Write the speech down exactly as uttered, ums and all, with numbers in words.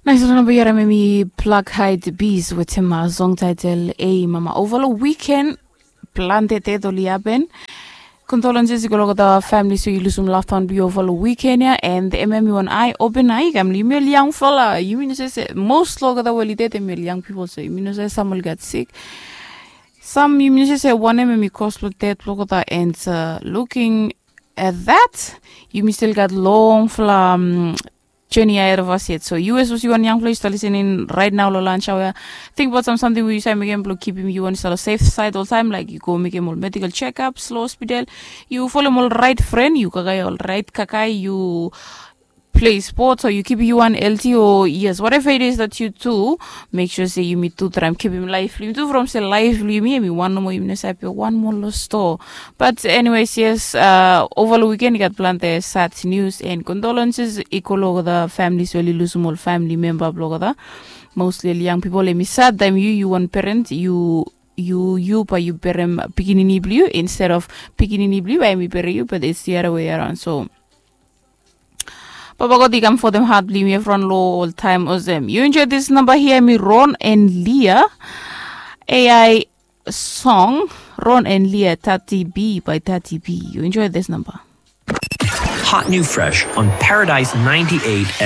Nais ol namba yara memi Black Hide Bees wetem song title A mama. Ova long wiken plante ded oli hapen. Condolences i go long olgeta families we i lusum loved one blong yu ova long wiken ya, and em ya mi wan ai open ai kam yumi ol yangfala, yumi no save se most long olgeta we oli ded em ol yang pipol, so yumi no save sam oli gat sik. Sam yumi no save se wanem em i kos blong ded blong olgeta, and luking at that, yumi stil gat longfala um, journey ahead of us yet. So yu as was yu wan yangfala yu stap lisening right now long lunch hour ya, tingbaot sam samting we yu save mekem blong kipim yu wan i stap long safe side oltaim, laik yu go mekem ol medical checkups long hospital, yu folem ol right fren, yu kakae ol right kakae, yu play sports o yu kipim yu wan healthy o yes, whatever it is that you do, make sure se yumi tu traem kipim laef blong yumi tu from se laef blong yumi em i wan nomo, yumi no save pia wan moa long stoa. But anyways, yes, uh, ova long wiken i gat plante sad news and condolences i go long olgeta families we oli lusum ol family memba blong olgeta. Mostly ol yang pipol, em i sad taem yu, yu wan parent, yu yu yu bae yu berem pikinini blong yu instead of pikinini blong yu bae em i berem yu, but it's the other way around. So Papa God i kam fotem hat blong yumi evriwan long oltaim olsem. Yu enjoy this namba hia, em i Ron and Leah, A I song, Ron and Leah, Tati B by Tati B. Yu enjoy this namba. Hot new fresh on Paradise ninety-eight